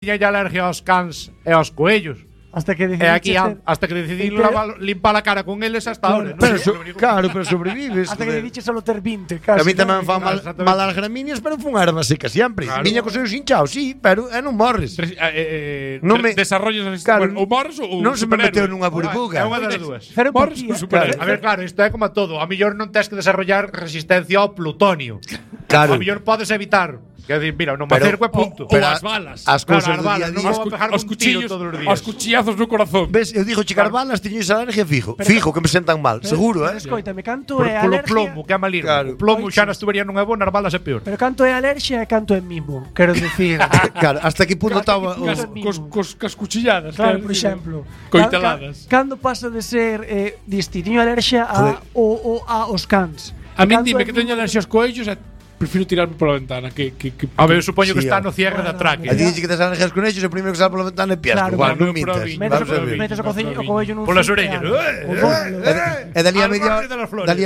tiña ya alergia aos cans e aos coellos. Hasta que hasta que decidí limpar a cara con eles hasta ahora. Pero sobrevives. Hasta que dediche solo ter 20, casi. A mí tamén fan mal as gramíneas, pero fun erva seca sempre. Viña cos seus hinchaos, sí, pero non morres. Desarrollos o morres ou non se me meteu nunha burbuga. É unha das dúas. Morres ou superhéroe. A ver, claro, isto é como todo. A mellor non tes que desarrollar resistencia ao plutonio. Claro. A mellor podes evitar. Quer dizer, mira, non me acerco e punto. Pero as balas. As cousas do día a día. Os cuchillos todos os días. Os cuchillazos no corazón. Ves, eu digo checar balas, tiño esa alergia fijo. Fijo que me sentan mal, seguro, Escoitame, canto é polo alergia. plomo, que é maligno. O plomo xa nas tuberías non é bo, nas balas é peor. Pero canto é alergia e canto é mimo. Quero dicir. Claro, hasta que punto estaba cos cuchilladas. Claro, por exemplo. Coiteladas. Cando pasa de ser distinto alergia aos cans. A min dime que teño alergia aos coellos e prefiro tirarme pola ventana A ver, eu supoño que está no cierre da tráquea. A ti dixe que tes alergias con ellos, o primeiro que sale pola ventana é piasco. Igual, non mintas. Metes o coello nun. Polas orellas. E dali a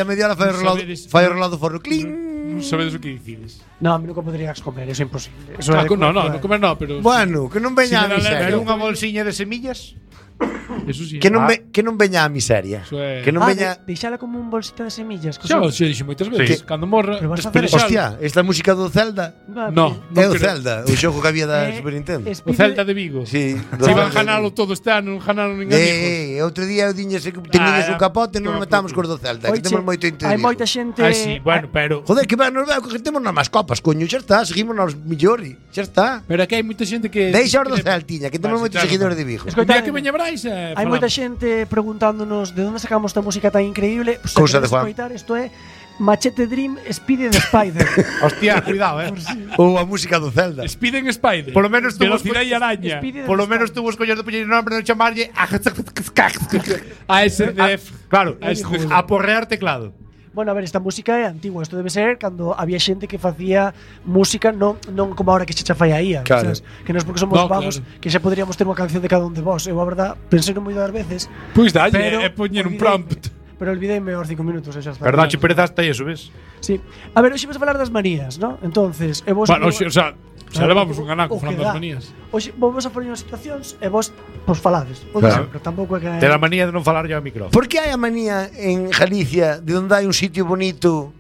media hora fai o rolado forno. Cling. Non sabedes o que dicides. No, a mí nunca poderías comer, eso é imposible. Non comer no, pero bueno, que non veña a miseria. Unha bolsiña de semillas. Eso sí. Que non veña a miseria. Que non veña. Deixala como un bolsita de semillas. Xa dixo moitas veces. Cando morra, hostia, esta música do Zelda. No, é o Zelda, o xogo que había da Super Nintendo. O Zelda de Vigo. Sí. Se iban janalo todo este ano, non janaron nin amigos. Outro día eu diñes que tenías un capote, non metamos cos do Zelda, que temos moito interés. Hai moita xente. Sí, bueno, pero joder, que nos veo que temos nas máis copas, coño, xa está, seguimos nos millori, xa está. Pero aquí hai moita xente que deixa os do Celtiña, que temos moitos seguidores de Vigo. Mira que veña Brais. Hai moita xente preguntándonos de onde sacamos esta música tan increíble. Cousa de Juan. Isto é Machete Dream, Speed and Spider. Hostia, cuidado, Ou a música do Zelda. Speed and Spider. Por lo menos tu velocidade e araña. Por lo menos tu escolles de poñer nombre non chamarlle ASDF. Claro, a porrear teclado. Bueno, a ver, esta música é antigua. Isto debe ser cando había xente que facía música non como ahora que xa fai aí, claro. Sabes? Que non é porque somos vagos, que xa poderíamos ter unha canción de cada un de vos. Eu, a verdad, pensei moi das veces. Pois dalle, é poñer un prompt. Pero olvidéime aos 5 minutos, xa está. Verdade, perezaste iso, ves? Sí. A ver, hoxe vamos a falar das manías, ¿no? Entonces, vos bueno, xa levamos un anaco falando das manías. Hoxe vamos a poñer unhas situacións e vos falades. Claro. Pero tampouco é que ter a manía de non falar yo ao micrófono. Por que hai a manía en Galicia de onde hai un sitio bonito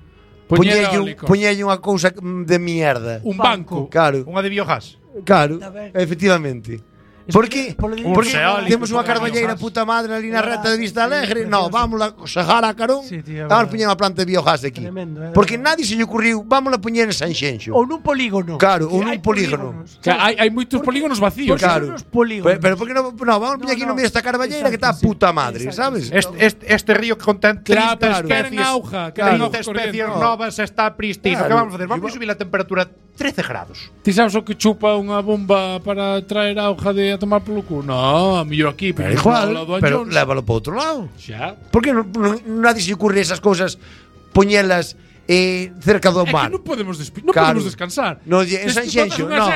poñelle unha cousa de mierda? Un banco. Claro. Unha de biogás. Claro, efectivamente. ¿Por qué? Porque temos unha carballeira puta madre ali na reta de Vista Alegre. No, vamos a sajar a Carón. Vamos a poñer unha planta de biogás aquí. Porque nadie se lle ocurriu, vamos a poñer en Sanxenxo. Ou nun polígono. Claro, ou nun polígono. Hai moitos polígonos vacíos. Claro. Pero por que non vamos a poñer aquí no medio desta carballeira que está a puta madre, sabes? Este río que contén 30 especies. 30 especies novas está pristino. Que vamos a facer? Vamos a subir a temperatura 13 grados. Ti sabes o que chupa unha bomba para traer auga de a tomar polo cu? No, a mellor aquí, pero igual, pero lévalo para outro lado. Xa. Por que nadie se ocurre esas cousas poñelas cerca do mar? É que non podemos descansar. No, en Sanxenxo, no.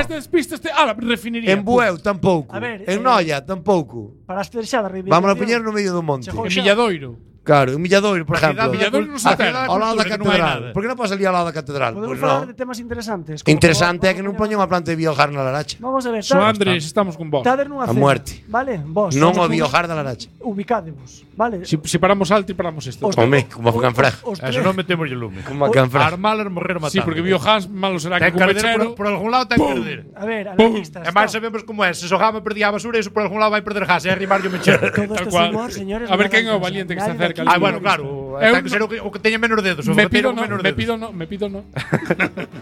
Refinería. En Bueu tampouco. En Noia tampouco. Para estrexar a reivindicación. Vamos a poñer no medio do monte. En Milladoiro. Claro, en Milladoiro, por exemplo. Milladoiro non se terra. Ao lado da catedral. Por que non podes salir ao lado da catedral? Podemos falar de temas interesantes. Interesante é que non poñan unha planta de biogás na Laracha. Vamos a ver. So Andrés, estamos con vos. A muerte. Vale, vos. Non o biogás da Laracha. Ubicádevos, vale? Si paramos alto e paramos esto. Home, como a Canfrag. Eso non metemos o lume. Como a Canfrag. Armalas, morrer o matar. Sí, porque biogás malo será que perder por algún lado ten que perder. A ver, analistas. E máis sabemos como é. Se Sogama perdía a basura, iso por algún lado vai perder gas. É arrimar o mechero. Todo isto é humor, señores. A ver quen é o valiente que está cerca. Bueno, claro. Ten que ser o que teña menos dedos. Me pido no.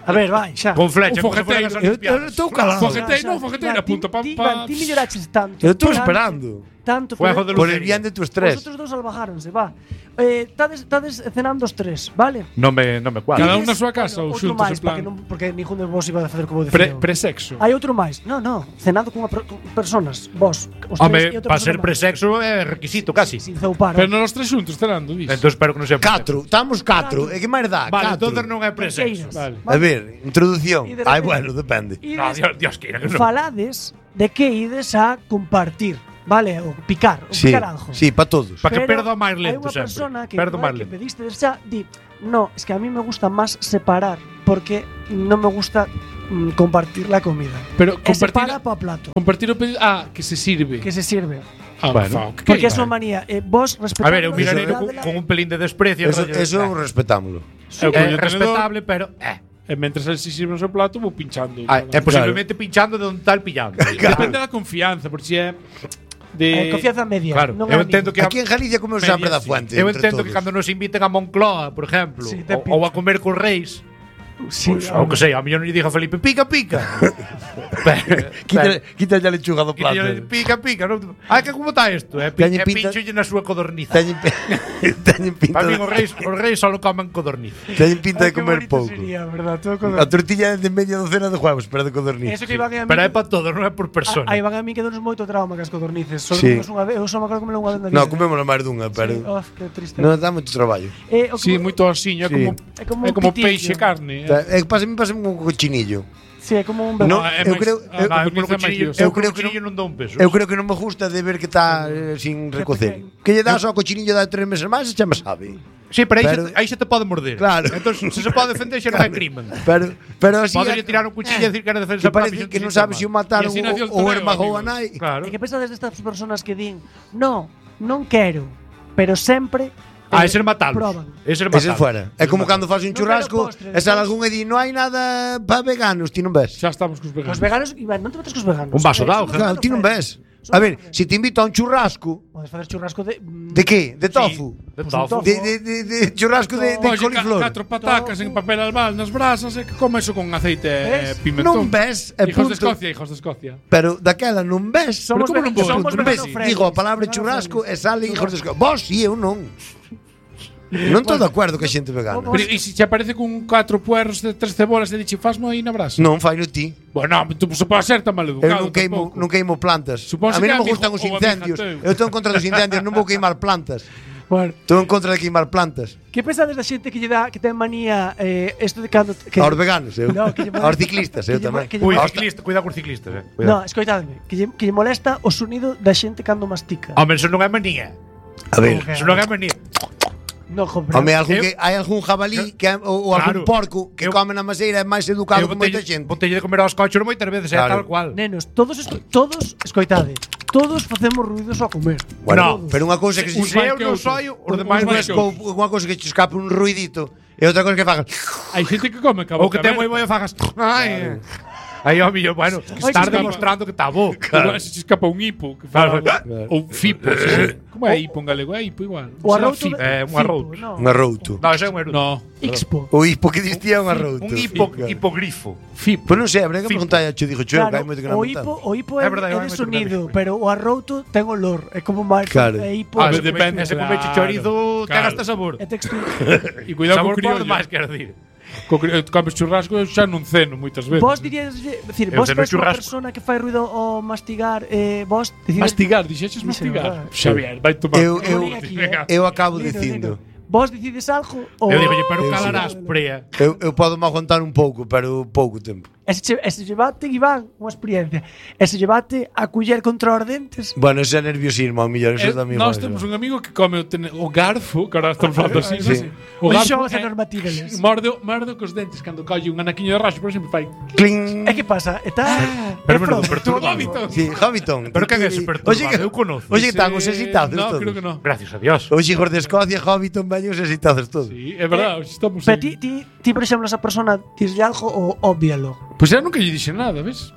A ver, vai, xa. Con flecha. Eu estou calado. Fogueteiro, apunta. Ti melloraches tanto. Eu estou esperando. Tanto por el bien de tu estrés. Vosotros dos salvajáronse, va. Tades cenando os tres, vale? Non me cuadra. Cada un na súa casa ou xuntos en plan. Porque ningún de vos iba a facer como decía. Presexo. Hai outro máis. No, cenando con personas, vos, os tres e outra persona. Para ser presexo é requisito casi. Sin zoupar. Pero non os tres xuntos cenando, dis. Entón espero que non sea 4, estamos 4. E que máis dá? Vale, entonces non é presexo. A ver, introducción. Bueno, depende. Dios queira que non. Falades de que ides a compartir. Vale, o picar algo. Sí, para todos. Para que perda máis lento sempre. Hai unha persona que pediste xa, di, no, es que a mí me gusta máis separar, porque non me gusta compartir la comida. Pero se paga para plato. Compartir o pedido. Que se sirve. Que se sirve. Bueno, porque es unha manía. Vos respetamos. A ver, eu mirarei con un pelín de desprecio. Eso respetámoslo. É respetable, pero E mentres el se sirve no seu plato, vou pinchando. É posiblemente pinchando de onde está el pillando. Depende da confianza, por si é confianza media. Claro, eu entendo que aquí en Galicia comemos sempre da fuente. Eu entendo que cando nos inviten a Moncloa, por exemplo, ou a comer cos reis, o que sei, a mellor non lle diga a Felipe pica. Quita ya lechuga do plato. Pica. Que como está isto? Pincholle na súa codorniza. Teñen pinta. Para mí os reis só comen codorniza. Teñen pinta de comer pouco. A tortilla é de media docena de huevos, pero de codorniza. Pero é para todos, non é por persona. Aí van a mí que donos moito trauma cas codornices. Eu só me acordo comer unha vez na vida. Non, comemos máis dunha, pero que triste. Non dá moito traballo. Sí, moito asiño, é como peixe e carne. É que pasa un cochinillo. Sí, é como un bebé. Eu creo que non me gusta de ver que está sin recocer. Que lle dá só ao cochinillo da 3 meses máis e xa me sabe. Sí, pero aí se te pode morder. Claro. Entón, se pode defender xa non é crimen. Pero así Podelle tirar un cuchillo e decir que era defensa propia. Parece que non sabe se o mataron ou ermagou a nai. E que pensades destas persoas que din non quero, pero sempre ese er matalos. Ese fuera. É como cando faz un churrasco e sale algún e di non hai nada para veganos, ti non ves. Xa estamos cos veganos. Os veganos, Iván, non te metes cos veganos. Un vaso de auga. Ti non ves. A ver, se te invito a un churrasco. Podes facer churrasco de. De que? De tofu? De tofu. De churrasco de coliflor. 4 patacas en papel albal nas brasas e que come eso con aceite e pimentón. Non ves. Hijos de Escocia. Pero daquela non ves. Somos ves. Digo a palabra churrasco e sale hijos de Escocia. Vos si eu non. Non estou de acordo que a xente vegana. Pero e se te aparece con 4 puerros de 3 cebolas e dixe fasmo aí na brasa? Non, faino ti. Bueno, tú se pode ser tan maleducado. Eu non queimo plantas. A mí non me gustan os incendios. Eu estou en contra dos incendios, non vou queimar plantas. Bueno, estou en contra de queimar plantas. Que pensades da xente que lle dá que ten manía isto de cando aos veganos, eu. Aos ciclistas, eu tamén. Cuidado cos ciclistas, Non, escoitadme, que lle molesta o sonido da xente cando mastica. Home, eso non é manía. A ver, eso non é manía. No, home, hai algún jabalí ou algún porco que come na maseira é máis educado que moita xente. Botelle de comer aos cochos moitas veces, é tal cual. Nenos, todos escoitade, todos facemos ruidos ao comer. Bueno, pero unha cousa que se eu non soio, os demais unha cousa que te escape un ruidito e outra cousa que fagas. Hai xente que come cabo. Ou que te moi fagas. Ai. Aí, ó, millo, bueno, estás demostrando que está bo. Igual se escapa un hipo. Ou fipo. Como é hipo en galego? É hipo igual. O arrouto. É un arrouto. Un arrouto. Non, ese é un arrouto. No. Ixpo. O hipo que distía un arrouto. Un hipogrifo. Fipo. Pues non sei, habrá que preguntar a Cho, dijo Cho, que hai moito que non O hipo é de sonido, pero o arrouto ten olor. É como máis hipo. Depende. Ese come chorizo ten hasta sabor. É textura. E cuidado co criollo. Máis, quero dir. Comes churrasco xa non ceno moitas veces. Vos diríades, decir, vos ves unha persona que fai ruido ao mastigar, vos decides mastigar, dixeches mastigar. Xavier, vai tomar. Eu acabo dicindo. Vos decides algo ou eu digo, pero calarás, prea. Eu podo me aguantar un pouco, pero pouco tempo. Ese llevate, Iván, unha experiencia. Ese llevate a culler contra os dentes. Bueno, ese é nerviosismo, a millón, eso tamén. Nós temos un amigo que come o garfo, que ahora estamos falando así, sí. O garfo é normativeles. Morde cos dentes cando colle un anaquiño de raxo, por exemplo, fai cling. E que pasa? Está perturbado. Sí, Hobbiton. Pero que é ese perturbado? Eu conozco. Oye, que están os exitados No, todos. creo que no. Gracias a Dios. Os hijos de Escocia, Hobbiton, veños exitados todos. Sí, é verdade, estamos. Pero ti, por exemplo, esa persona dislle algo ou óbvialo. Pois eu nunca lle dixe nada, ves?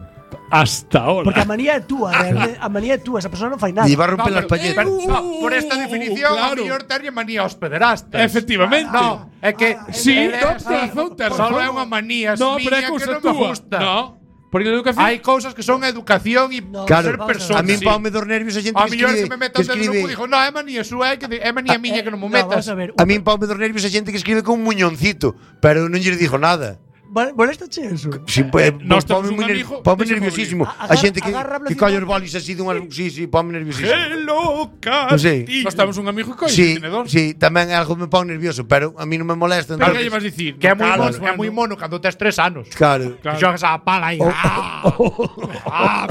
Hasta ahora. Porque a manía é túa, realmente, a manía é túa, esa persona non fai nada. E va a romper las palletas. Por esta definición, a mellor terlle manía aos pederastas. Efectivamente. No, é que sí, razón. Só é unha manía miña que non me gusta. No. Porque a educación hai cousas que son educación e ser persona. A mí paume dos nervios a xente que escribe. A mellor que me metan dentro do grupo dixo, "No, é manía súa, é manía miña que non me metas." A mí paume dos nervios a xente que escribe con un muñoncito, pero non lle dixo nada. Molestache eso? Sí, paume nerviosísimo. A xente que colle os bolis así dunha... Sí, paume nerviosísimo. Que loca. Nós temos un amigo que colle tenedor. Sí, tamén é algo que me pau nervioso, pero a mí non me molesta. Pero que lle vas dicir? Que é moi mono cando tes 3 anos. Claro. Xogas a pala aí.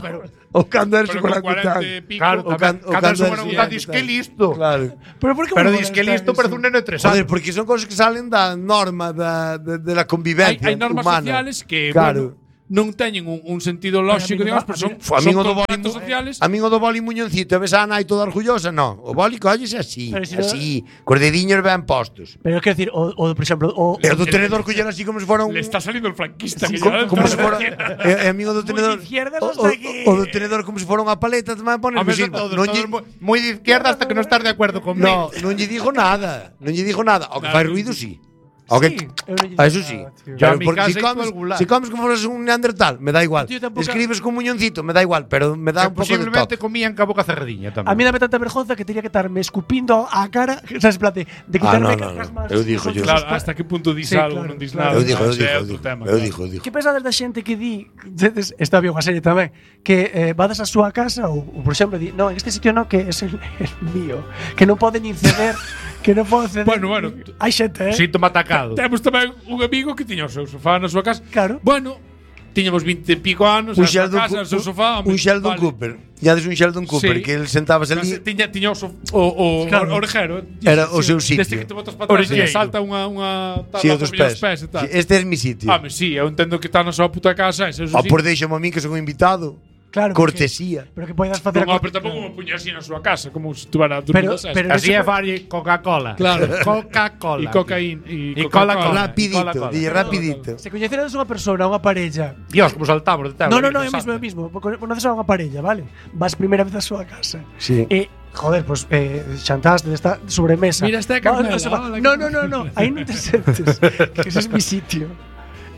Pero o cando eres un orangután. Claro, cando eres un orangután dis que listo. Claro. Pero dis que listo parece un neno de 3 anos. Joder, porque son cosas que salen da norma de la convivencia humana. Hai normas sociales que, claro. non teñen un sentido lógico, digamos, pero son contratos sociales. A min o do boli muñoncito, ves a nai toda orgullosa, non. O boli collese así, así, cos dediños ben postos. Pero quero dicir, por exemplo, o do tenedor collen así como se fora un... Le está salindo el franquista. Como se fora... E a min o do tenedor... O do tenedor como se fora unha paleta, tamén pones... Moi de izquierda hasta que non estás de acordo conmigo. Non lle digo nada. O que fai ruido, sí. Eso sí. Si comes como fueras un neandertal, me da igual. Escribes con muñoncito, me da igual, pero me da un pouco de toque. Posiblemente comían ca boca cerradiña tamén. A mí dame tanta vergonza que tería que estarme escupindo a cara, sabes, plate, de quitarme cascas máis. Eu digo yo. Claro, hasta que punto dis algo, non dis nada. Eu digo. Que pensades da xente que di, está bien unha serie tamén, que vades a súa casa ou por exemplo, di, no, en este sitio no, que es el mío, que non poden inceder. Que non podo ceder. Bueno. Hai xente, síntoma atacado. Temos tamén un amigo que tiña o seu sofá na súa casa. Claro. Bueno, tiñamos 20 e pico anos na súa casa, o seu sofá. Un Sheldon Cooper. Ya des un Sheldon Cooper, que él sentábase ali. Tiña o orejero. Era o seu sitio. Desde que te botas para atrás e salta unha tabla dos pés e tal. Este é mi sitio. Sí, eu entendo que está na súa puta casa. Por deixame a min que son un invitado. Claro, cortesía. Pero que podes facer pero tampouco me puña así na súa casa, como se estuvera durmindo pero así é fari Coca-Cola. Claro. Coca-Cola. E cocaína. E Coca-Cola. Rapidito. Se coñeceras unha persona, unha parella. Dios, como saltamos de tema. No, é mismo. Conoces a unha parella, vale? Vas primeira vez á súa casa. Sí. Joder, pues chantaste desta sobremesa. Mira esta Carmela. No. Aí non te sentes. Que ese es mi sitio.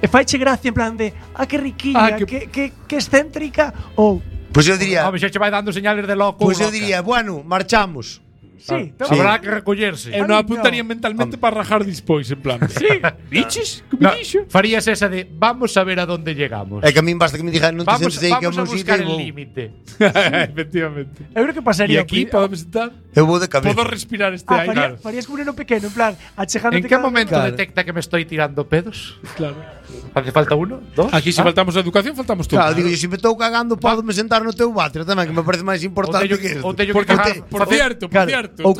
E faiche gracia en plan de que riquiña, que excéntrica ou Pois eu diría, xa che vai dando señales de loco. Pois eu diría, bueno, marchamos. Sí, habrá que recollerse. Eu non apuntaría mentalmente para rajar despois, en plan. Sí, biches, que me dixo. Farías esa de vamos a ver a dónde llegamos. É que a min basta que me digan non te sentes aí que é o meu sitio. Vamos a buscar el límite. Efectivamente. Eu creo que pasaría. E aquí podemos estar. Eu vou de cabeza. Podo respirar este aire. Farías como un neno pequeno, en plan, achegándote. En que momento detecta que me estoy tirando pedos? Claro. Hace falta uno, dos. Aquí se faltamos a educación, faltamos todos. Claro, digo, se me estou cagando, podo me sentar no teu váter tamén, que me parece máis importante que isto. Por cierto. Ou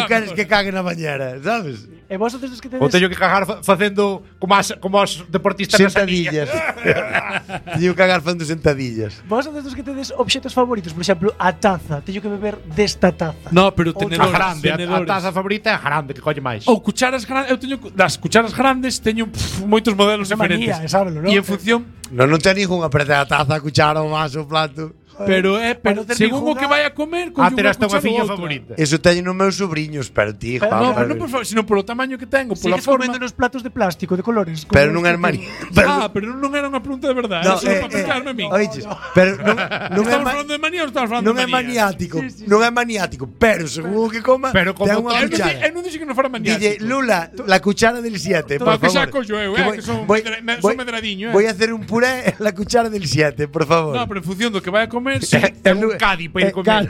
queres que cague na bañera, sabes? E vos outros que tedes... Ou teño que cagar facendo como os deportistas sentadillas. Teño que cagar facendo sentadillas. Vos outros que tedes obxetos favoritos, por exemplo, a taza. Teño que beber desta taza. No, pero tenedores. A taza favorita é grande, que colle máis. Ou cucharas grandes. Eu teño das cucharas grandes teño moitos modelos diferentes. Sábelo, ¿no? E en función... Non ten ninguna, pero a taza, a cuchara, o vaso, o plato. Pero según o que vai a comer, ter hasta unha fiña favorita. Eso teño nos meus sobriños, pero ti, Juan. No, pero non por favor, sino polo tamaño que tengo, pola forma. Comendo nos platos de plástico de colores. Pero non é armario. Pero non era unha pregunta de verdade, era só para explicarme a mí. Oiches, pero non estamos falando de manía ou estamos falando de manía? Non é maniático, pero según o que coma, ten unha cuchara. Eu non dixo que non fora maniático. Dille, Lula, la cuchara del 7, por favor. Que saco eu, que son medradiño. Voy a hacer un puré en la cuchara del 7, por favor. No, pero en función do que vai a comer, un Cádiz para ir comer.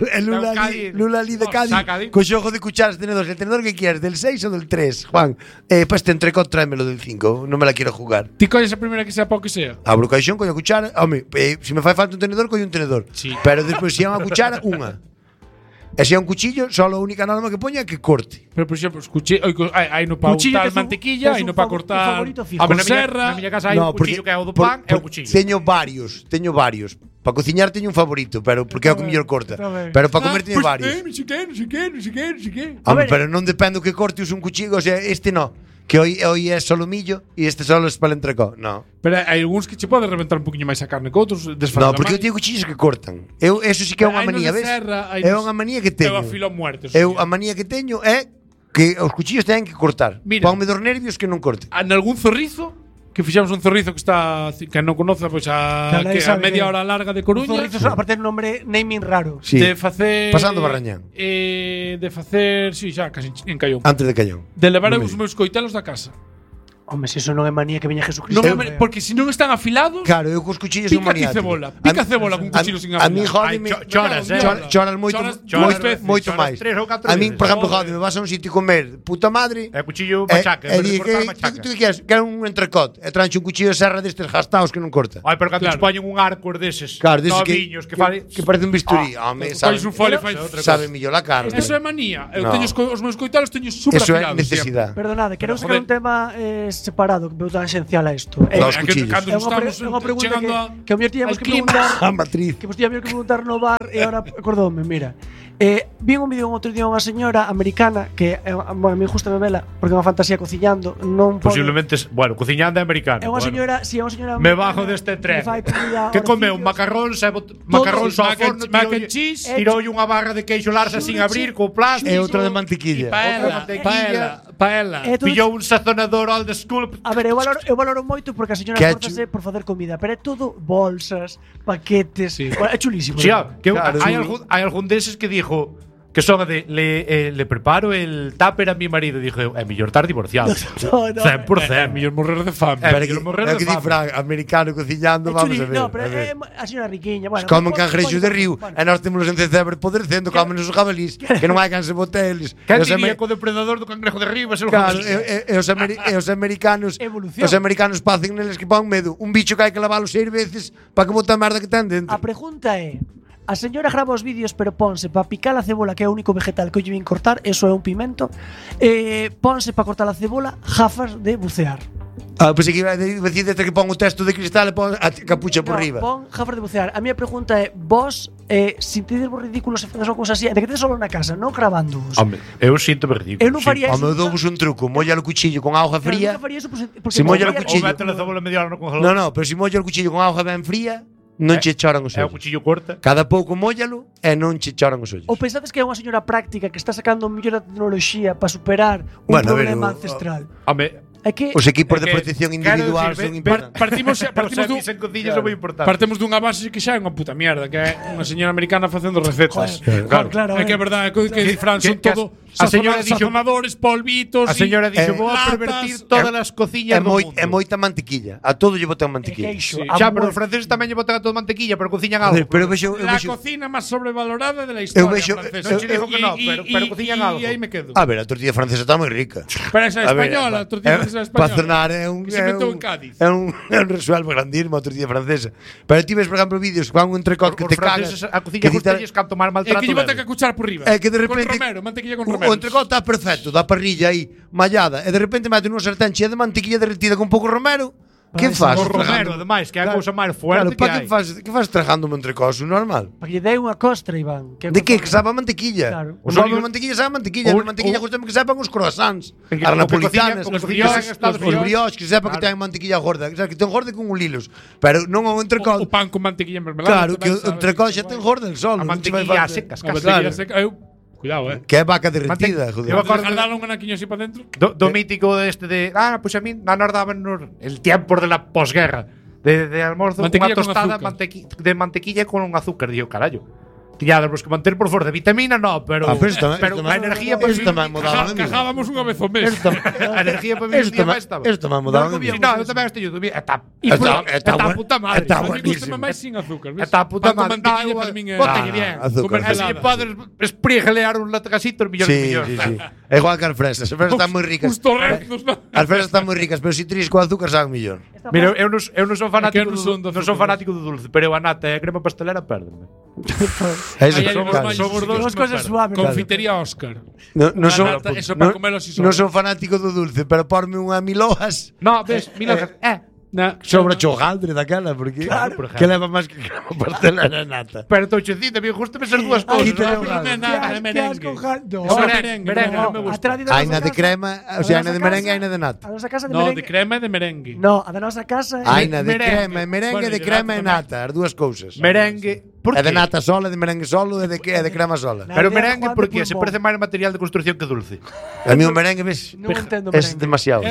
Lula ali de Cádiz. Co xogo de cucharas tenedores. El tenedor que quieres, del 6 o del 3, Juan. Pues te entrecot, tráemelo del 5. Non me la quiero jugar. Ti colles a primeira que sea pa o que sea. Abro o caixón, coño a cuchara. Home, se me fai falta un tenedor, coño un tenedor. Sí. Pero despois, se é unha cuchara, unha. E se é un cuchillo, só a única norma que poña é que corte. Pero, por exemplo, hai no para untar mantequilla, hai no para cortar a serra. Na miña casa hai un cuchillo que é o do pan e o cuchillo. Teño varios. Para cociñar teño un favorito, pero porque é o que mellor corta. Pero para comer teño varios. Non sei que. Pero non depende o que corte un cuchillo, o sea, este no. Que hoy é solo millo e este solo es para el entrecó. No. Pero hai algúns que che pode reventar un poquinho máis a carne que outros desfacer. No, porque eu teño cuchillos que cortan. Eso sí que é unha manía, ves? É unha manía que teño. A manía que teño é que os cuchillos teñen que cortar. Ponme dos nervios que non corten. En algún zorrizo que fixamos un zorrizo que está que non conoce pois a media hora larga de Coruña. Un zorrizo aparte de un nombre naming raro. Sí. De facer pasando Barrañán. De facer, si, xa casi en Caión. Antes de Caión. De levar os meus coitelos da casa. Home, se eso non é manía que veña Jesucristo. Porque se non están afilados. Claro, eu cos cuchillos son maniático. Pica cebola con cuchillo sin afilado. A mí jódeme. Choras moito máis. A mí, por exemplo, jódeme, vas a un sitio comer, puta madre. E cuchillo machaca, tú que queres? Quero un entrecot. E tranche un cuchillo de serra destes gastados que non corta. Ai, pero cando te poñen un arco deses. Claro, deses que parece un bisturí. Home, sabes un folio fai sabe mellor a carne. Eso é manía. Eu teño os meus coitalos teño super afilados. Eso é necesidade. Perdonade, quero buscar un tema separado que veu tan esencial a isto? Os cuchillos. É unha pregunta que o mellor tiñamos que preguntar. A matriz. Que vos tiñamos que preguntar no bar e agora acordoume, mira. Vi un vídeo outro día unha señora americana que a mí justame vela porque é unha fantasía cociñando, non posiblemente, bueno, cociñando é americano. É unha señora, si é unha señora me bajo deste tren. Que comeu macarróns ao forno, tirou unha barra de queixo larsa sin abrir co plástico e outra de mantequilla. Paella. Pillou un sazonador old school. A ver, eu valoro moito porque a señora esforzase por facer comida, pero é todo bolsas, paquetes, é chulísimo. Sí, hai algún deses que dixo que son de le preparo el tupper a mi marido. Dije, é mellor estar divorciado. 100%. Mellor morrer de fame. Que di Fran, americano cociñando, vamos a ver. No, pero a señora riquiña, bueno. Comen cangrexos de río, e nós temos en Cecebre podrecendo, comen os jabalís, que non hai canse boteles. Que diría co depredador do cangrejo de río, claro, e os americanos pacen neles que pon medo. Un bicho que hai que lavalo 6 veces para que bote a merda que ten dentro. A pregunta é: a señora grava os vídeos pero ponse para picar a cebola, que é o único vegetal que lle vin cortar, eso é un pimento, ponse para cortar a cebola gafas de bucear. Pois que iba a decir desde que pon o texto de cristal e pon a capucha por riba. Pon gafas de bucear. A miña pregunta é: vos sintides vos ridículos se faces unha cousa así, de que tedes solo na casa, non grabándoos? Home, eu sinto-me ridículo. Eu non faría eso. Home, eu douvos un truco, molla o cuchillo con auga fría. Eu non faría eso porque se molla o cuchillo. Ou mete a cebola media hora no congelador. No, pero se molla o cuchillo con auga ben fría, non che choran os ollos. É o cuchillo corta. Cada pouco móllalo e non che choran os ollos. Ou pensades que é unha señora práctica que está sacando mellor tecnoloxía para superar un problema ancestral? Home, os equipos de protección individual son importantes. Partimos dunha base que xa é unha puta mierda, que é unha señora americana facendo recetas. Claro. É que é verdade, que di Fran, son todo sazonadores, polvitos. A señora dixo, vou a pervertir todas as cociñas do mundo. É moita mantequilla. A todo lle botan mantequilla. Xa, pero os franceses tamén lle botan a todo mantequilla, pero cociñan algo. La cocina máis sobrevalorada de la historia francesa. Non che digo que non, pero cociñan algo. E aí me quedo. A ver, a tortilla francesa está moi rica. Pero esa española, a tortilla francesa española. Para cenar é un resuelvo grandísimo a tortilla francesa. Pero ti ves, por exemplo, vídeos con un entrecot que te cagas. A cociña gustalles canto mal maltrato. É que lle botan que cuchar por riba. É que de repente con romero, mantequilla con romero. O entrecot está perfecto, da parrilla aí mallada, e de repente mete nunha sartén chea de mantequilla derretida con pouco romero. Que faz? O romero, ademais, que é a cousa máis fuerte que hai. Que faz trajando un entrecot normal? Para que lle dei unha costra, Iván. De que? Que sabe a mantequilla. Claro. O nome de mantequilla sabe a mantequilla. A mantequilla gustame que sepan os croissants, as napolitanas, os brioches, que sepa que ten mantequilla gorda. Que ten gorda con lilos. Pero non o entrecot. O pan con mantequilla en mermelada. Claro, que o entrecot xa ten gorda el sol. A mantequilla secas, Cuidado, Que é vaca derretida, joder. Eu acordo dar un anaquiño así para dentro. Do mítico este de, pues a mí nos daban el tiempo de la posguerra. De almuerzo, unha tostada de mantequilla con un azúcar. Digo, carallo. Tiñádamos que manter por forza de vitamina, no, pero a energía para vivir. Cajábamos unha vez ao mes. A energía para vivir día máis estaba. Isto me mudaba. No, eu tamén estou yo. Está puta madre. Está buenísimo. máis sin azúcar, ves? Está puta madre. Bótalle bien. Así podes esprigelear un latgasito millón de millóns. Sí. É igual que as fresas. As fresas están moi ricas. As fresas están moi ricas, pero se tris con azúcar saben millón. Mira, eu non son fanático do dulce, pero a nata e a crema pastelera pérdeme. Somos dos cosas suaves. Confitería Óscar. Non son fanático do dulce, pero porme unha milojas. No, ves, milojas. Sobre chogaldre daquela, porque que leva máis que crema pastelera nata. Pero touchecita, me gusta ser dúas cousas. Merengue. Hai na de crema, o sea, hai na de merengue e hai na de nata. No, de crema e de merengue. No, a da nosa casa hai na de crema e merengue, de crema e nata, as dúas cousas. Merengue. É de nata sola, de merengue solo e de crema sola. Pero merengue porque se parece máis material de construcción que dulce. A mí o merengue, ves, é demasiado.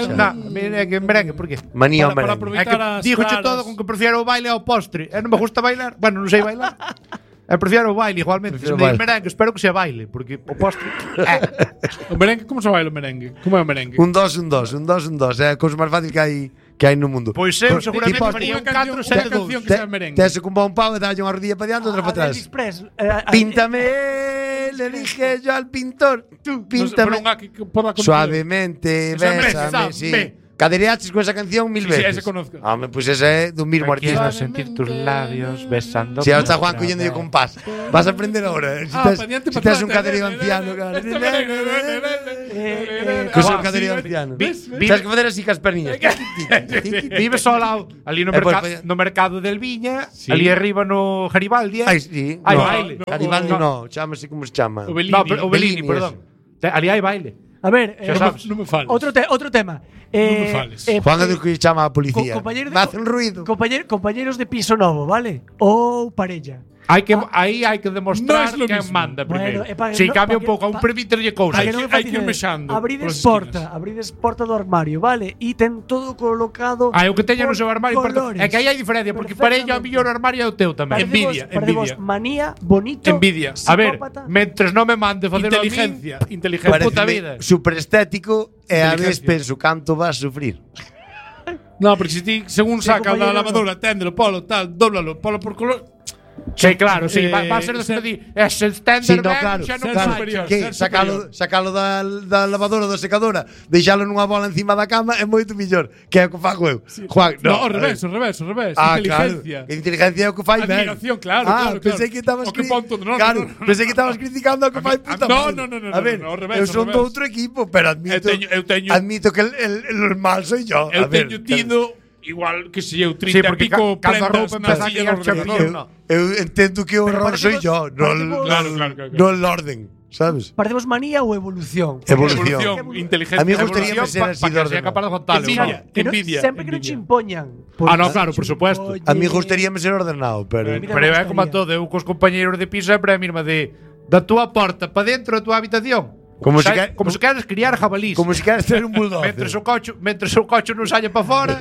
Merengue, por que? Manía o merengue. Dígoche todo con que prefiero o baile ao postre. Non me gusta bailar. Bueno, non sei bailar. Prefiero o baile igualmente. Se me diz merengue, espero que sea baile, porque o postre. O merengue, como se baila o merengue? Como é o merengue? Un dos. É a cousa máis fácil que hai no mundo. Pois eu seguramente faría un 4 7 2. Tese con un pau e dalle unha rodilla para diante, outra para atrás. Píntame, le dije yo al pintor. Píntame. Suavemente, bésame, sí. Cadereaches con esa canción 1000 veces. Sí, ese conozco. Home, pues ese é do mismo artista. Quiero sentir tus labios besando. Si ahora está Juan collendo yo compás. Vas a aprender ahora. Si tes un cadereo anciano, claro. Cosa un cadereo anciano. Tens que facer así cas perniñas. Vives ao lado, ali no mercado del Viña, ali arriba no Garibaldi. Ai, sí. Hai baile. Garibaldi no, chámase como se chama. O Bellini, perdón. Ali hai baile. A ver, non me fales. Outro tema. Non me fales. Juan é do que chama a policía. Me hacen ruido. Compañeros de piso novo, vale? Ou parella. Aí hai que demostrar quen manda primeiro. Si cambia un pouco, a un permíterlle cousas. Hai que ir mexando. Abrides porta do armario, vale? E ten todo colocado. O que teña no seu armario. É que aí hai diferencia, porque parella o mellor armario é o teu tamén. Envidia. Manía, bonito. Envidia. A ver, mentres non me mande facer inteligencia. Puta vida. Super estético e a vez penso canto vas a sufrir. No, porque si ti según saca da lavadora, téndelo, polo, tal, dóblalo, polo por color. Sí, claro, sí, va a ser ese standard claro, que sacalo da lavadora da secadora, deixalo nunha bola encima da cama é moito mellor, que é o que fago eu. Juan, no, ao revés. Inteligencia. Que inteligencia é o que fai ben. Admiración, claro. Pensei que estabas pensei que estabas criticando o que fai puta madre. No, a ver, ao revés. Eu son do outro equipo, pero admito que el mal soy yo. Eu teño tido igual que se eu 30 e pico prendas na silla do ordenador. Eu entendo que o horror soy yo, no el orden, sabes? Parecemos manía ou evolución? Evolución, inteligencia. A mí gustaría ser así de orden. Envidia. Sempre que non che impoñan. No, claro, por supuesto. A mí gustaría ser ordenado, pero é como todo, eu cos compañeros de piso sempre a mesma de da túa porta para dentro da túa habitación. Como se queres criar jabalís. Como se queres ter un bulldog. Mentres o cocho non saia para fora.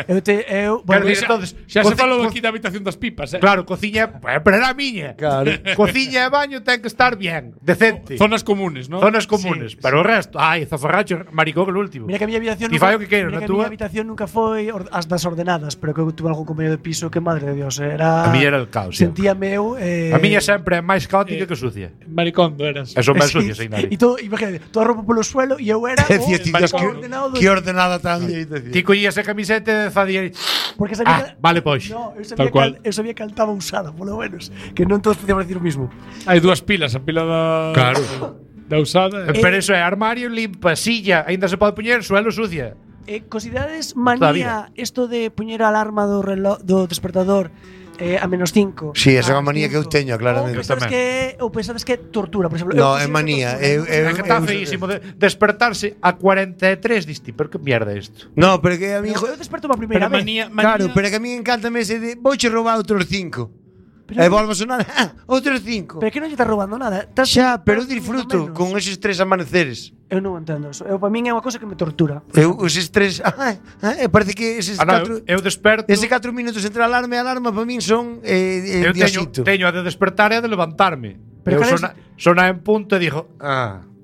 Entonces, xa se falou aquí da habitación das pipas, Claro, cociña, pero era a miña. Claro. Cociña e baño ten que estar bien, decente. Zonas comunes, ¿no? Zonas comunes, pero o resto, zafarracho, maricón el último. Mira que a miña habitación nunca habitación nunca foi as das ordenadas, pero que eu tuve algún compañero de piso que madre de Dios, era a miña era el caos. Sentíame eu a miña sempre é máis caótica que sucia. Maricondo eras. Eso máis sucia, sin nadie. E todo, imagínate, toda a roupa polo suelo e eu era que ordenada tan bien. Ti collías a camiseta e facías porque sabía vale, pois. No, eu sabía que estaba usada, polo menos, que non todos podíamos decir o mismo. Hai dúas pilas, a pila da da usada. Pero eso é armario limpa, silla, aínda se pode poñer, suelo sucia. Considerades manía isto de poñer a alarma do reloj do despertador a -5. Sí, esa é unha manía que eu teño, claramente. Ou pensades que é tortura, por exemplo. No, é manía. É que está feísimo despertarse a 43, diste, pero que mierda é isto? No, pero que a mí eu desperto a primeira vez. Claro, pero que a mí encántame ese de vouche roubar outros 5. E volvo a sonar outros 5. Pero que non lle estás roubando nada. Xa, pero disfruto con eses 3 amaneceres. Eu non entendo eso. Para min é unha cousa que me tortura. Eses 3 parece que eses 4 eu desperto. Ese 4 minutos entre a alarma e a alarma para min son eu teño a de despertar e a de levantarme. Pero sona en punto e digo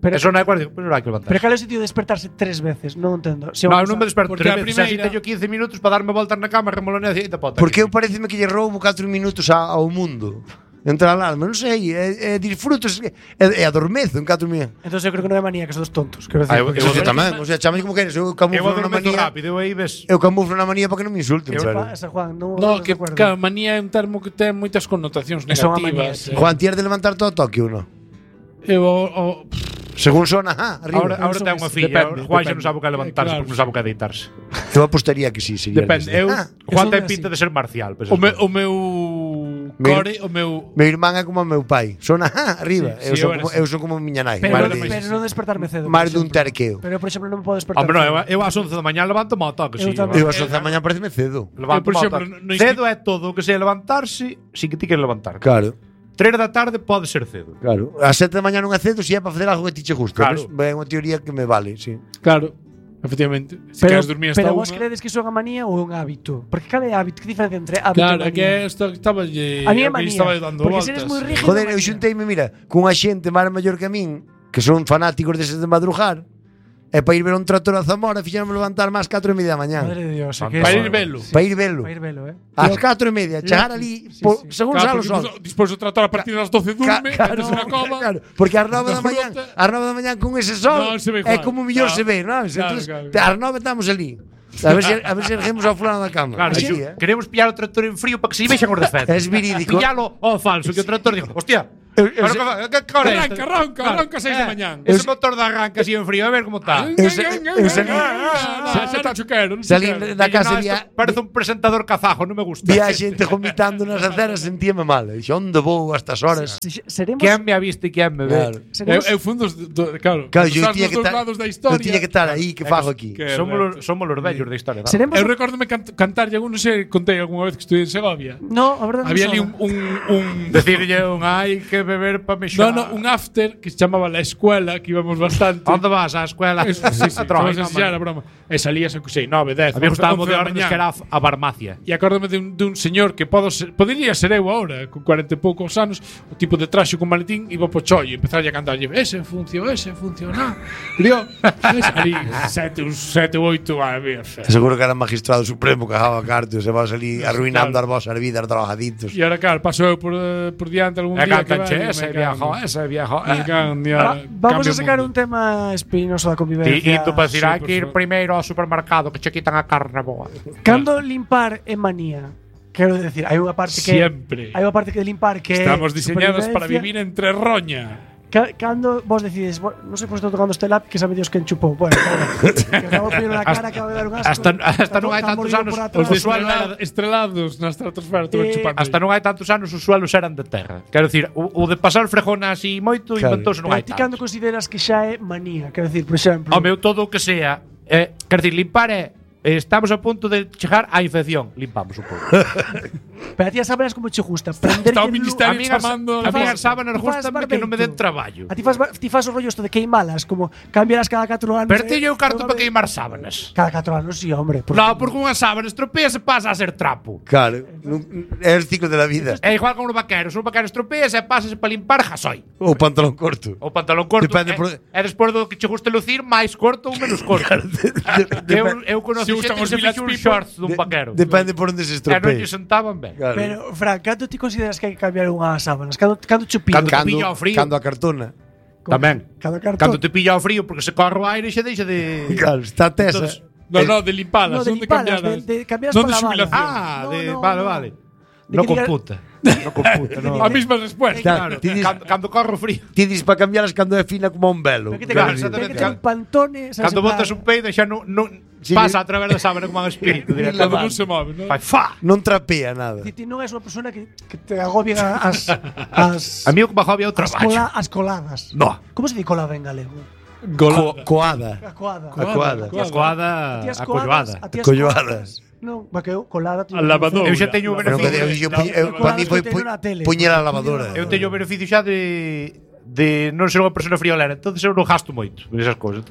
pero eso non é cuarto, pero non hai que levantar. Pero cal é o sentido de despertarse 3 veces? Non entendo. Non me desperto 3 veces. Así teño 15 minutos para darme voltas na cama, remolonea e te pota. Porque eu pareceme que lle roubo 4 minutos ao mundo. Entre a alarma, non sei, disfruto e adormezo en 4 minutos. Entón eu creo que non é manía, que son dos tontos. Quero decir, eu tamén, o sea, chamame como queres, eu camuflo na manía. Eu camuflo na manía para que non me insulten, Juan, no, que manía é un termo que ten moitas connotacións negativas. Juan, ti eres de levantar todo Tokio, non? Según sona, arriba. Ahora ten unha filla, Juan xa non sabe o que levantarse, porque non sabe o que deitarse. Eu apostaría que sí, sería. Depende, Juan ten pinta de ser marcial. O meu core, o meu irmán é como o meu pai. Sona arriba. Eu son como miña nai. Pero non despertarme cedo. Máis dun terqueo. Pero, por exemplo, non me podo despertar. Hombre, eu ás 11 da mañá levanto mo toque, si. Eu ás 11 da mañá pareceme cedo. Cedo é todo o que sei levantarse, si que ti queres levantar. Claro. 3 da tarde pode ser cedo. Claro. A 7 da mañá non é cedo se é para facer algo que ti che gusta. Claro. É unha teoría que me vale, sí. Claro. Efectivamente. Se queres dormir hasta pero vos credes que iso é unha manía ou é un hábito? Porque cal é hábito? Que diferencia entre hábito e manía? Claro, que estaba a mí é manía. Porque se eres moi rígido. Joder, eu xunteime, mira, cunha xente máis maior que a min, que son fanáticos deses de madrugar, E para ir ver un tractor a Zamora fixéramos levantar máis 4:30 da mañá. Madre de Dios, para ir velo. Para ir velo. Ás 4:30, chegar ali, según sale o sol. Despois o tractor a partir das 12 durme, metes unha cova. Claro, porque ás 9 da mañá con ese sol é como mellor se ve, non? Entonces, ás 9 estamos ali. A ver se erguemos ao fulano da cama. Claro, así, queremos pillar o tractor en frío para que se vexan os defectos. Es verídico. Pillalo ao falso, que o tractor dijo, hostia, arranca 6 da mañán. Ese motor de arranca así en frío, a ver como está. Salí da casa vía. Parece un presentador kazajo, non me gusta. Vía xente vomitando nas aceras, sentíame mal. Dixo, onde vou a estas horas? Quen me ha visto e quen me ve? Eu fui claro, eu tiña que estar aí, que fago aquí. Somos os vellos da historia. Eu recórdome cantar, non sei, contei algunha vez que estuve en Segovia. No, a verdade. Había ali un decirlle hai que beber para mexar. No, un after que se chamaba La Escuela, que íbamos bastante. Onde vas á escuela? Sí, era broma. E salías, sei, 9, 10. A mí gustaba de órdenes que era a farmacia. E acórdame dun señor que podería ser eu agora, con 40 e poucos anos, o tipo de traxe con maletín, iba po chollo e empezar a cantar. Ese funciona. Río, ali, 7 ou 8 a ver. Seguro que era magistrado supremo que jaba cartos e vas ali arruinando as vosas vidas drogaditos. E ahora, claro, paso eu por diante algún día que ese viejo. Vamos a sacar un tema espinoso da convivencia. E tú para decir, hai que ir primeiro ao supermercado que che quitan a carne boa. Cando limpar é manía. Quero decir, hai unha parte que sempre. Hai unha parte que de limpar que estamos diseñados para vivir entre roña. Cando vos decides, non sei por estou tocando este lápiz que sabe Dios que enchupou. Bueno, que acabo de na cara que vai dar un asco. Hasta non hai tantos anos os estrelados na estratosfera chupando. Hasta non hai tantos anos os suelos eran de terra. Quero decir, o de pasar frejona así moito inventouse non hai tantos. Ti cando consideras que xa é manía? Quero decir, por exemplo, o meu todo o que sea, quero decir, limpar é estamos a punto de chegar á infección. Limpamos un pouco. Pero a ti as sábanas como che gusta? Prender Está o ministerio chamando. A mí as sábanas gustame que non me den traballo. A ti faz o rollo isto de queimalas, como cambialas cada 4 anos. Pero ti eu carto para queimar sábanas. Cada 4 anos, sí, hombre. No, porque unha sábana estropea se pasa a ser trapo. Claro, é o ciclo de la vida. É igual con os vaqueros. Os vaqueros estropea se pasa para limpar jasoi. O pantalón corto. O pantalón corto. É despois do que che guste lucir, máis corto ou menos corto. Eu conozco xente que se fixo un shorts dun vaquero. Depende por onde se estropee. E non lle sentaban ben. Pero, Fran, cando ti consideras que hai que cambiar unhas sábanas? Cando che pillo? Cando te pilla ao frío. Cando a cartona. Tamén. Cando te pilla ao frío, porque se corre o aire e xa deixa de... Claro, está tesa. No, de limpadas, non de cambiadas. De cambiadas para la bala. Vale. Non computa. A mesma respuesta. Cando corre o frío. Ti dis para cambialas cando é fina como un velo. Cando botas un peido xa non pasa a través da sábana como un espírito. Cando non se move, non? Non trapea nada. Ti non és unha persona que te agobian as... A mí o que me agobia é o traballo. As coladas. No. Como se di colada en galego? Coada. A coada. Colloadas. Non, porque eu colada a lavadora. Eu xa teño o beneficio. Para mí foi puñer a lavadora. Eu teño o beneficio xa de non ser unha persona friolera, entonces eu non gasto moito en esas cousas.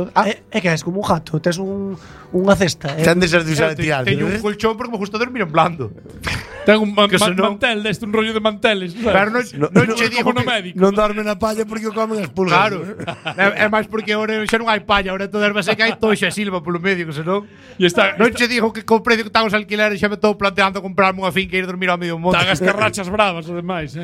É que és como un gato, tes unha cesta. Ten de ser de usar e tirar. Teño un colchón porque me gusta dormir en blando. Ten un mantel, un rollo de manteles. Pero non che digo no médico. Non dorme na palla porque o comen as pulgas. Claro. É máis porque agora xa non hai palla, agora todo erva seca hai toxa e silva polo medio, que senón. Non che digo que co precio que están os alquileres xa me estou planteando comprarme unha finca e ir dormir ao medio monte. Tan as carrachas bravas, ademais,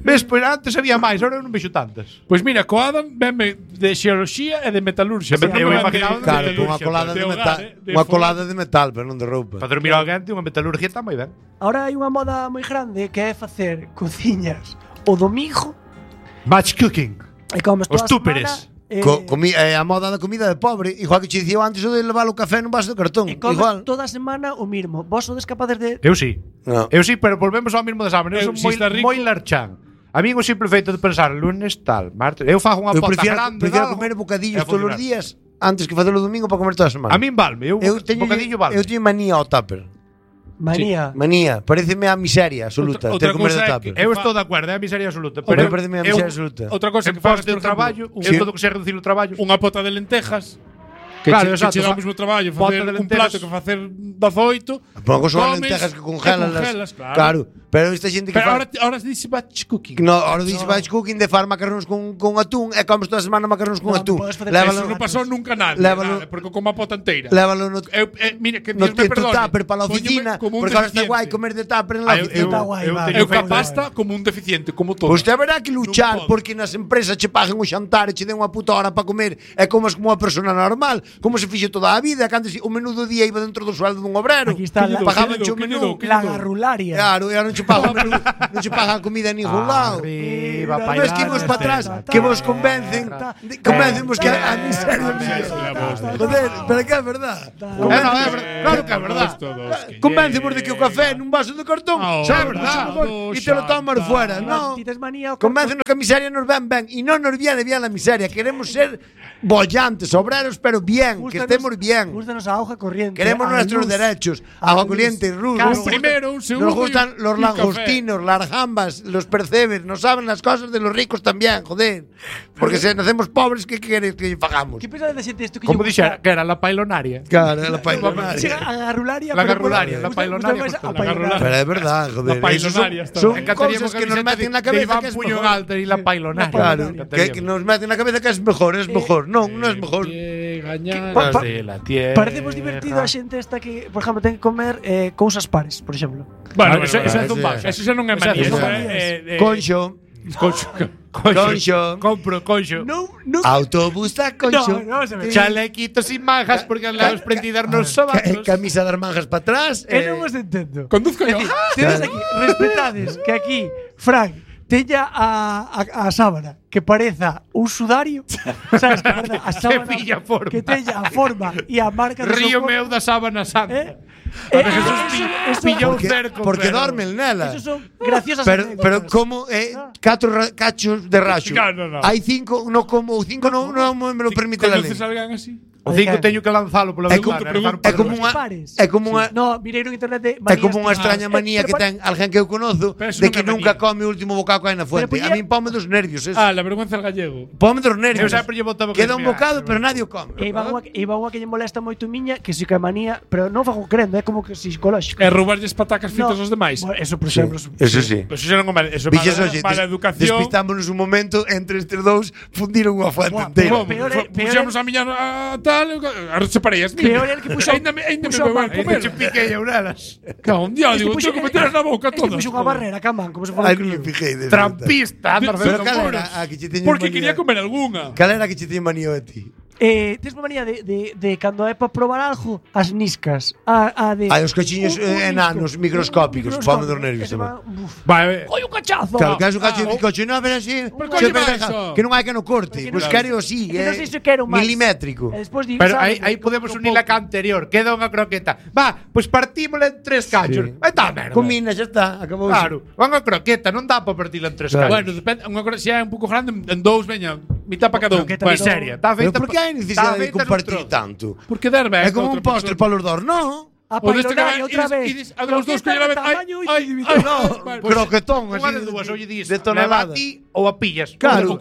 Ves, pois antes había máis, agora non vexo tantas. Pois mira, coada venme de xeoloxía e de metalurxia. Eu imaginaba claro, unha colada de metal, unha colada de metal, pero non de roupa. Para dormir ao quente, unha metalurgia está moi ben. Ahora hai unha moda moi grande que é facer cociñas o domingo. Batch cooking. E comes toda os túperes. A moda da comida de pobre, igual que che dicía antes o de levar o café nun vaso de cartón. E comes toda a semana o mismo. Vos sodes capaces de... Eu sí. Eu sí, pero volvemos ao mismo de sábado. Eu son moi larchán. A mí o simple feito de pensar lunes tal, martes, eu fago unha pota grande. Eu prefiro comer bocadillos todos os días antes que facelo o domingo para comer toda a semana. A min valme, bocadillo valme. Eu teño manía ao tupper. Manía. Pareceme a miseria absoluta ter que comer de tupper. Eu estou de acordo, é a miseria absoluta, pero pareceme a miseria absoluta. Outra cosa que fagas do traballo, eu todo que sea reducir o traballo. Unha pota de lentejas. Claro, exacto. Que che dá o mesmo traballo facer un plato que facer 18. Pongo só lentejas que congelas. Claro. Pero esta xente que ahora dice batch cooking. No, ahora dice batch cooking de far macarróns con atún e comes toda a semana macarróns con atún. Eso non pasou nunca nada, porque como a pota enteira. Lévalo no mira, que Dios me perdone. Tupper para la oficina, porque ahora está guai comer de tupper en la oficina. Eu que pasta como un deficiente, como todo. Pois te haberá que luchar porque nas empresas che paguen o xantar e che den unha puta hora para comer e comas como unha persona normal, como se fixe toda a vida, cando o menú do día iba dentro do sueldo dun obrero. Aquí está pagaban o menú, la garrularia. Claro, e non che pagan o menú, non che pagan a comida en ningún lado. Non es que vos para atrás, que vos convencen vos que a miseria. Joder, pero que é verdad. Claro que é verdad. Convéncemos de que o café nun vaso de cartón é verdad e te lo tomas fuera, non? Convéncenos que a miseria nos ben e non nos viene bien a miseria. Queremos ser bollantes, obreros, pero bien, que estemos bien. Gústanos a hoja corriente. Queremos nuestros derechos, agua corriente, luz. Primero, un segundo. Nos gustan los langostinos, las gambas, los percebes, nos saben las cosas de los ricos también, joder. Porque si nacemos pobres, ¿qué queréis que pagamos? ¿Qué pensas de xente isto que como dixera, que era la pailonaria? Claro, la pailonaria. A garrularia. La garrularia, la pailonaria. Pero es verdad, joder. La pailonaria son cosas que nos meten en la cabeza que es puño mejor. alto y la pailonaria. Claro, que nos meten en la cabeza que es mejor, No, non é mejor. Parecemos divertido a xente esta que, por exemplo, ten que comer cousas pares, por exemplo. Bueno, eso é zumbaje. Eso xa non é manía. Conxo. Compro conxo. Autobús a conxo. Chalequitos sin manjas porque las prendidas nos sobacos. Camisa das manjas para atrás. Non vos entendo. Conduzco yo. Tedes aquí, respetades que aquí, Frank, teña a sábana que pareza un sudario, sabes, que pareza a sábana que teña a forma e a marca do Río meu da sábana santa. Pilla un cerco. Porque dormen nela. Eso son graciosas pero como 4 cachos de raxo. Hai 5, non como 5 non me lo permite la lei. Conoces alguén así? O 5 teño que lanzalo pola ventana. É como unha No, mirei no internet É como unha extraña manía que ten alguén que eu conozo de que nunca come o último bocado que hai na fuente. A min pome dos nervios eso. La vergüenza del gallego. Pome dos nervios. Eu sempre lle botaba queda un bocado, pero nadie o come. E iba unha que lle molesta moito miña, que si que é manía, pero non fago crendo, é como que psicolóxico. É roubarlles patacas fritas aos demais. Eso, por exemplo. Eso sí. Eso xa non é mal. Eso é mala educación. Despistámonos un momento entre estes dous, fundiron unha fuente inteira. Puxamos a miña tal, separeías. Peor é el que puxo. Ainda me vai comer. Che piquei eu nelas. Cago un día, digo, tengo que meter na boca todo. Puxo unha barrera, camán, como se fora. Ai, non me fijei. Trampista. Pero cal era a que che teño porque quería comer algunha. Cal era que che teño manía a ti? Tes manía de cando é para probar algo, as niscas. Hai os cachiños enanos, microscópicos, pome dos nervios tamén. Vai, oi, un cachazo. Claro, que é un cacho de coche, non, pero así, que non hai que no corte, pois quero así, milimétrico. Pero aí podemos unir a anterior, queda unha croqueta. Va, pois partímola en 3 cachos. Aí está, merda. Comina, xa está, acabou. Claro, unha croqueta, non dá para partila en 3 cachos. Bueno, depende, unha croqueta, se é un pouco grande, en 2, veña, mitad para cada un. Miseria, está feita. Pero por que hai necesidade de compartir tanto? Porque derbe. É como un postre para os dous, non? A pailonaria outra vez. A los dos que la vez. No, croquetón, así de dúas, oye, dis, de tonelada. leva a ti ou a pillas. Claro,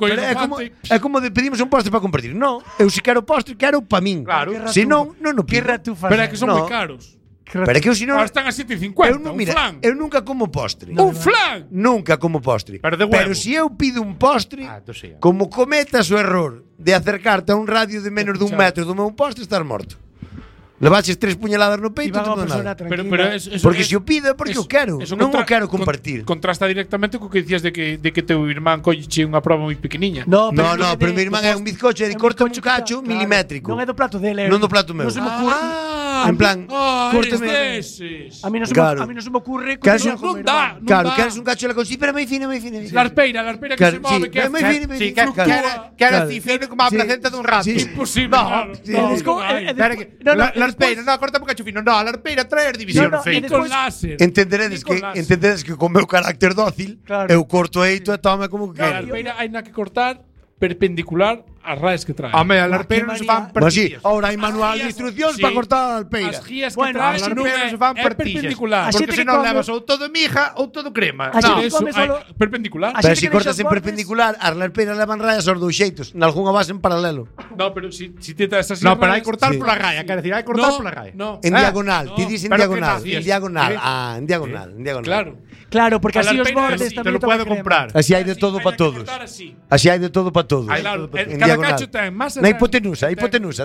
é como de pedimos un postre para compartir. Non, eu se quero postre, quero para min. Claro. Se non, non o pido. Pero é que son moi caros. Pero é que eu senón están a 7,50, un flan. Eu nunca como postre. Un flan. Nunca como postre. Pero se eu pido un postre, como cometas o error de acercarte a un radio de menos de 1 metro do meu postre, estás morto. Levaches 3 puñaladas no peito e todo nada. Pero porque se o pido é porque eu quero, non o quero compartir. Contrasta directamente co que dicías de que teu irmán colleche unha proba moi pequeniña. No, pero meu irmán é un bizcocho e corta un cacho milimétrico. Non é do plato dele. Non do plato meu. Non se me ocurre. En plan, córteme. A mí non se me ocurre. Non dá. Claro, queres un cacho de la consi, pero moi fina. La arpeira que se move, que é moi fina. Sí, que era así fino como a placenta dun rato. Imposible. No, arpeira, non, corta un cacho fino. Non, a arpeira traer división. Con láser. Entenderedes que con meu carácter dócil eu corto eito e tome como que quero. A arpeira hai na que cortar perpendicular as raes que traen. Home, as larpeiras se fan partillas. Ahora hai manual de instruccións para cortar a alpeira. As guías que traen as larpeiras se fan partillas. Porque senón levas ou todo miga ou todo crema. Perpendicular. Pero se cortas en perpendicular, as larpeiras levan rayas aos dous xeitos, nalgunha base en paralelo. No, pero si te das así. No, pero hai cortar pola raya, quero decir, hai cortar pola raya. En diagonal, ti dis en diagonal, en diagonal. Ah, en diagonal, en diagonal. Claro, porque así os bordes te lo puedo comprar. Así hai de todo para todos. Así hai de todo para todos. Cada cacho ten masa. Na hipotenusa,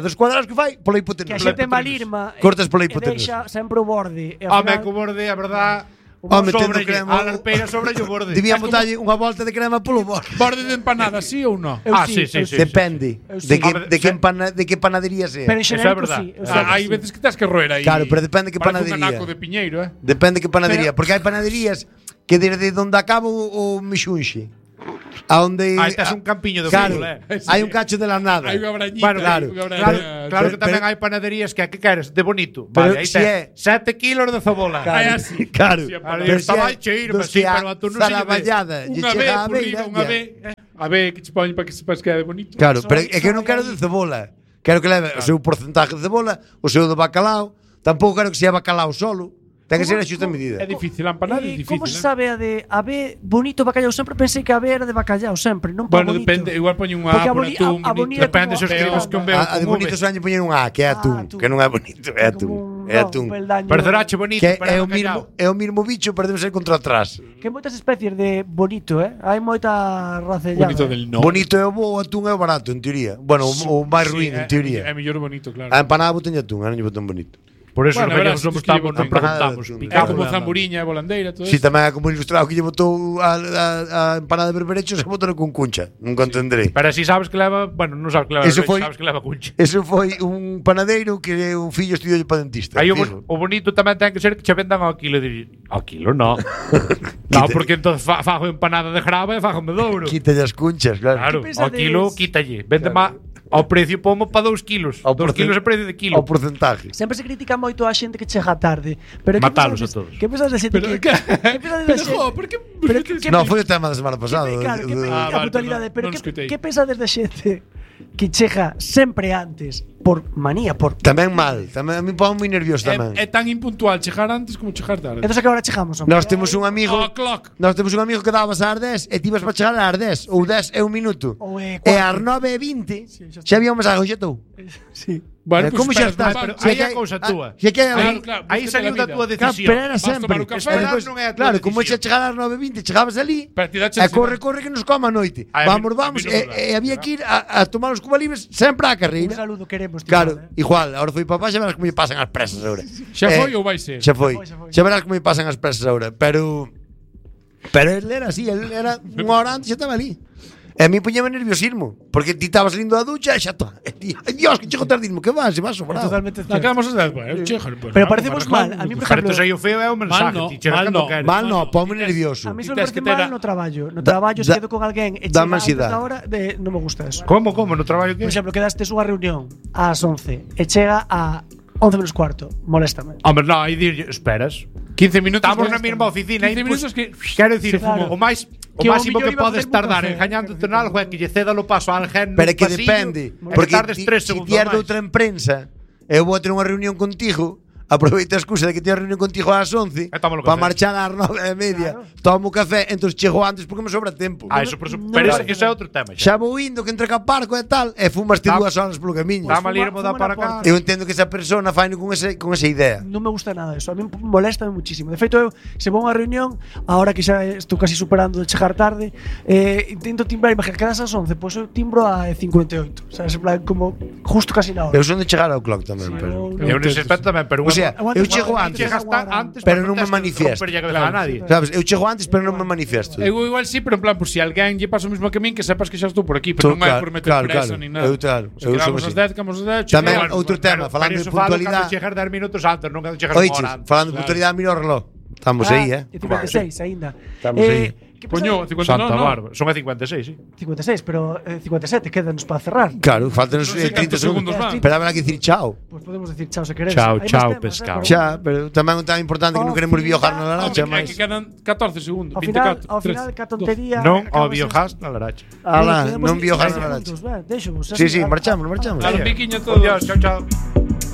dos cuadrados que fai pola hipotenusa. Que a xente malirma cortas pola hipotenusa. Deixa sempre o borde. Home, co borde, a verdad. Metendo crema. A larpeira sobre o borde. Debían botarlle unha volta de crema polo borde. Borde de empanada, sí ou non? Sí. Depende de que panadería sea. Pero en xenérico sí. Hai veces que tens que roer aí. Claro, pero depende que panadería. Un anaco de piñeiro, Depende que panadería, porque hai panaderías que desde onde acaba o mixunxe aonde aí tes un campiño de fútbol, hai un cacho de la nada. Hai unha brañita, claro que tamén hai panaderías que queres de bonito. Vale, aí tes 7 kilos de cebola. Así. Claro. Pero estaba cheiro, pero a tú non se vallada, unha vez, a ver que che poñen para que sepas que é de bonito. Claro, pero é que eu non quero de cebola. Quero que leve o seu porcentaje de cebola, o seu de bacalao. Tampouco quero que sea bacalao solo. Ten que ser a xusta medida. É difícil, a empanada é difícil. Como se sabe a de ave bonito bacallau? Sempre pensei que a ave era de bacallau, sempre, non para bonito. Bueno, depende, igual poñen unha A por atún. Depende se escribes con B ou a de bonito soñe poñer un A, que é atún, que non é bonito, é atún. É atún. Parecerache bonito, pero é o mismo bicho, pero debe ser contra atrás. Que moitas especies de bonito, hai moita racellada. Bonito del no. Bonito é o bo, o atún é o barato, en teoría. Bueno, o máis ruín, en teoría. É mellor bonito, claro. A empanada boten atún, non lle boten bonito. Por eso non preguntamos. Como zamburiña, volandeira, todo eso. Si tamén é como ilustrado que lle botou a empanada de berberechos, se botou con cuncha. Nunca entenderei. Pero si sabes que leva, bueno, non sabes que leva, sabes que leva cuncha. Eso foi un panadeiro que o fillo estudiou para dentista. Aí o bonito tamén ten que ser que che vendan ao kilo de ao kilo, no. No, porque entonces fago empanada de grava e fago de douro. Quítalle as cunchas, claro. Ao kilo quítalle. Vende má ao precio pomo para 2 kilos. 2 kilos é precio de kilo. Ao porcentaje. Sempre se critica moito a xente que chega tarde, pero matalos a todos. Que pensas da xente que pensas da xente? No, foi o tema da semana pasada. Claro, que a puntualidade, pero que pensas da xente que chega sempre antes por manía, por tamén mal, tamén a mí pon moi nervioso tamén. É tan impuntual chegar antes como chegar tarde. Entón que agora chegamos. Nós temos un amigo que dabas ás 10 e ti ibas para chegar ás 10 ou 10 é un minuto. E ás 9:20 xa había un mensaje, xa estou. Sí. Bueno, como xa estás? Aí a cousa túa. Aí saliu da túa decisión. Pero era sempre. Claro, como xa chegar ás 9:20, chegabas ali e corre que nos coma a noite. Vamos, e había que ir a tomar os cubalibres sempre á carreira. Un saludo queremos. Claro, igual, ahora foi papá, xa verás como me pasan as presas agora. Xa foi ou vai ser? Xa foi. Xa verás como me pasan as presas agora, pero ele era así, ele era unha hora antes xa estaba ali. E a mí poñeme nerviosismo, porque ti estabas salindo da ducha e xa está. Dios, que chego tardismo, que vas, se vas sobrado. Totalmente certo. Acabamos de dar, pero parecemos mal. A mí, por exemplo, sei o feo é o mensaje, ti chegas cando queres. Mal no, ponme nervioso. A mí só me parece mal no traballo. No traballo se quedo con alguén e chega a hora de non me gusta eso. Como? No traballo que? Por exemplo, quedastes unha reunión ás 11 e chega a 11 menos cuarto, moléstame. Hombre, no, aí dir, esperas 15 minutos. Estamos na mesma oficina. 15 minutos que quero dicir, o máximo que podes tardar engañándote en algo é que lle ceda o paso a alguén. Pero que depende, porque tardes 3 segundos. Se tier doutra prensa, eu vou ter unha reunión contigo, aproveita a excusa de que teño reunión contigo ás 11 para marchar ás 9:30. Tomo café, entón chego antes porque me sobra tempo. Eso por suposto, pero ese é outro tema. Xa vou indo que entre Caparco e tal, e fumaste 2 horas polo camiño. Está mal irmo da para cá. Eu entendo que esa persona faino con esa idea. Non me gusta nada eso, a mí molesta muchísimo. De feito, eu se vou a unha reunión, agora que xa estou casi superando de chegar tarde, intento timbrar, imagina, quedas ás 11, pois eu timbro a 58. Sabes, en plan, como justo casi na hora. Eu son de chegar ao clock tamén, pero eu nese aspecto tamén, pero o sea, eu chego antes, pero non me manifiesto. Sabes, eu chego antes, pero non me manifiesto. Eu igual sí, pero en plan, por si alguén lle pasa o mesmo que a min, que sepas que xa estou por aquí, pero non hai por meter presa ni nada. Eu quedamos as 10, quedamos as 10. Tamén outro tema, falando de puntualidade. Chegar 10 minutos antes, non chegar unha hora antes. Falando de puntualidade, miro o reloj. Estamos aí, 56 aínda. Estamos aí. Coño, 59 Santa Bárbara. Son a 56, sí. 56, pero 57 quédanos para cerrar. Claro, faltan 30 segundos más. Pero habrá que decir chao. Pues podemos decir chao se queréis. Chao, Hai chao, máis temas, pescado. Xa, pero tamén é tan importante que non queremos viajar na Laracha, Que quedan 14 segundos. Ao final, 24, que tontería. Non ao biogas na Laracha. Ala, non viajar na Laracha. Deixo, Sí, marchamos. Claro, piquiña todo. Adiós, chao, chao.